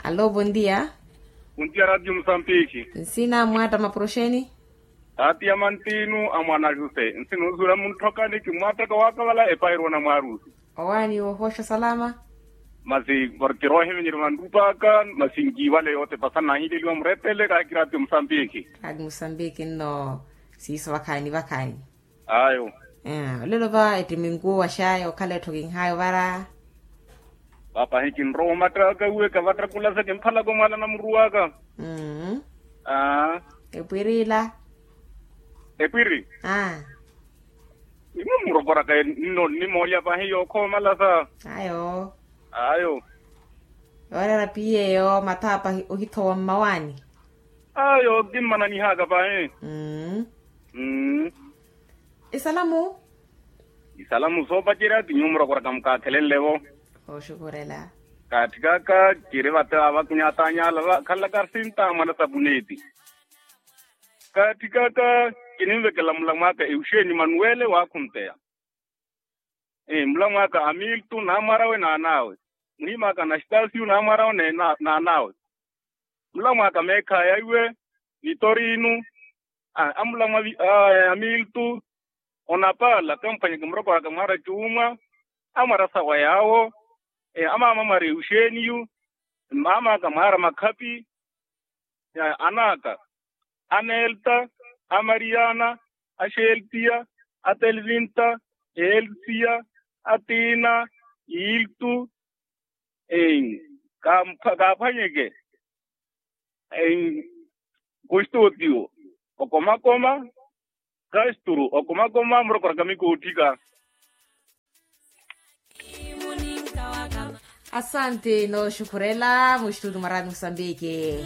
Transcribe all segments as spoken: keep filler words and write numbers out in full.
Alo bondia. Bondia radio musambiki. Nsina mwaatta mapuroxeni. Taati ya mantinu a mwana jose nsina osuula muntthokani kimwaattaka waakavala epahiru onamwaarusi. Owaani woohooxa salama. Masi porke roohimenyerya vanrupaaka masi nkiivale yootepasa nahileliwa murettele kaakiraati musambiki. Kaati musambiki nno siiso vakhaani vakhaani. Ayo. Olelo va ettiminku waxaya okhala ettho kinhaya ovara. Papahi kinrowa omattaka uwe kavattakulasa kimphalaka omwala namuruwaka. Epwirila. Epwiri. Imwe murokoraka nno nnimoolya pahi yookhomalasa. Ayo. Ayo. Yooreera piyeyo mathaapa ohithowa mmawaani. Ayo kimmananihaka pahi. Isalamu. Isalamu soopacerya ti nyuwo murokoraka mukaakhelenle-vo. Kooxukhurela. Kaatthikaka kiri vate avakunyatanyala vakhalaka sinta mwana sapuneti. Kaatthikaka kininvekela mulamwaka euxeni manuwele waakhunteya. Mulamwaka amiltu naamwarawe naanawe. Muhimaka anastasiyu naamwarawe naanawe. Mulamwaka meekhaya iwe nitorinu. Amulamwa amiltu onapala kamphwanyeke murokoraka mwara cuumwa. Amwara sawa yaawo. Amaama mwara euxeniyu. Mmaamaka mwara makhapi. Anaka anelta, amariyana, axeltiya, atelvinta, elsiya, atina, iltu. Kaaphwanyeke. Kustotiyo okomakoma. Kasturu okomakoma murokoraka mikootthika. Asante nooxukhurela muxitutu mwa radio musambiki.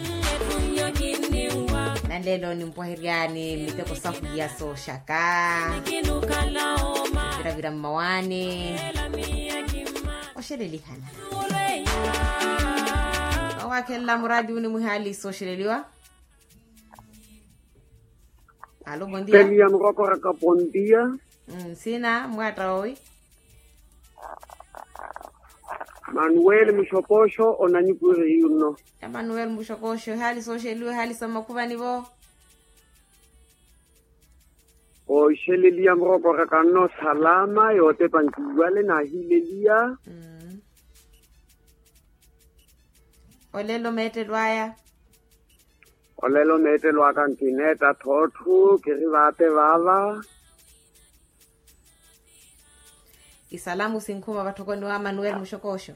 Nanlelo nimpwaheryani miteko sahu ya sooxaka. Viravira mmawaani. Oxelelihana. Owaakhelela muraati uni mwihaali sooxeleliwa. Alo bondia. Peliya murokoraka bondia. Nsina mwaatta owi. Manuweli muxokoxo onanyupuri yunno. Emanuweli muxokoxo ehaali sooxeliwa ehaali sa mmakhuvani-vo. Ooxeleliya murokoraka nno salama yootepa nkiiwale naahileliya. Olelo meettelo aya. Olelo meettelo aka nkineetta thootthu kiri vaate vaava. Isalamu sinkhuma vatthokoni wa manuweli muxokoxo.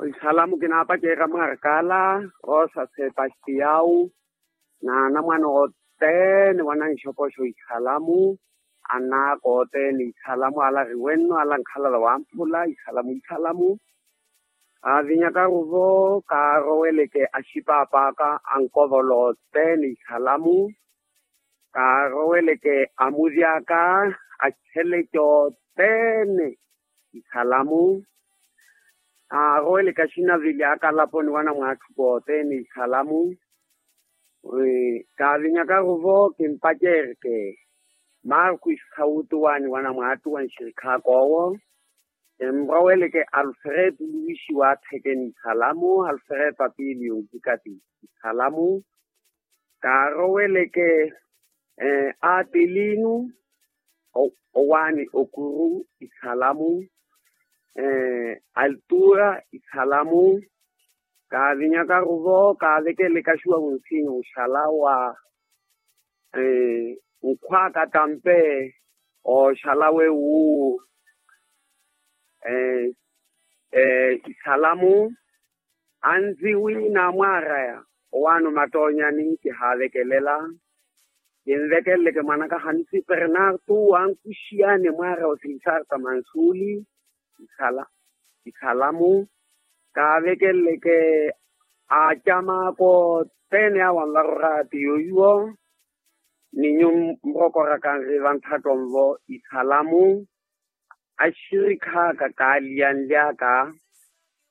Isalamu kinaapacerya mwarkala rosa sepastiau. Naanamwane othene wananxokoxo isalamu. Anaaka othene isalamu ala ariwenno ala ankhalala wamphula isalamu isalamu. Kaavinyakaru-vo kaaroweleke axipaapaaka ankovolo othene isalamu. Kaaroweleke amuryaka axeleke othene isalamu. Kaaroweleke axinavili aka alaponi wanamwaatthuku othene isalamu. Kaavinyakaru-vo kimpacerke marku isautuwani wanamwaattuwa nxirikhaaka owo. Kinroweleke alfreto luwisi waathekeni isalamu alfreto apiili yonvikati isalamu. Kaaroweleke atilinu owaani okuru isalamu. Altura isalamu. Kaavinyakaru-vo kaavekeleke axuwa wunsinya oxala wa nkhwaka tampe oxala wewu. Isalamu anziwi naamwaraya owaano mattoonyani kihaavekelela. Kinvekeleleke mwanaka hanisi pernartu wankuxiyani mwaara wa sisarta mansuli. Isalamu kaavekeleleke acamaka othene awo anvarorati yoyuwo. Ni nyu murokoraka nri vanthatto nvo isalamu. Axirikhaaka kaaliyanlyaka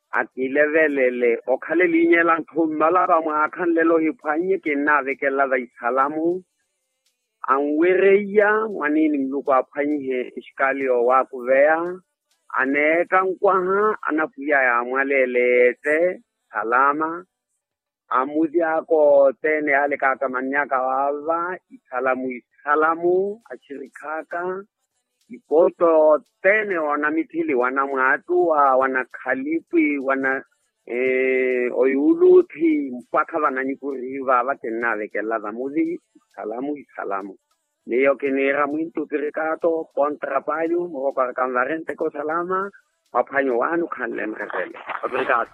akilevelele okhale eliinyela nthu mmala vamwaakha nlelo ohiphwannye kinnaavekelela va isalamu. Anwereiya mwaniini muluku aphwanyihe exikali yoowakuveya. aneetta nkwaha anapwiya yaamwaleeleete salama. Amuti aka othene yaalekaaka mannyaka waava isalamu isalamu axirikhaaka. Ipooti othene oona mithili wana mwaattuwa wana khalipwi wana oyuuluthi mpakha vana nikuriiva vakinnaavekela vamuthi isalamu isalamu. Miyo kiniira mwintu pirikaato kontra payu muroko arakanvarenteko salama. Mwaphwanyo waani okhanle murevele. Oprikaato.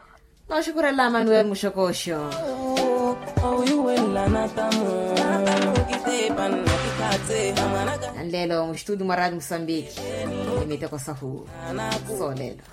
Nooxukurela manuel muxokooxo. Anleelo muxituti mwa raati musambiki ni miteko sahu soolelo.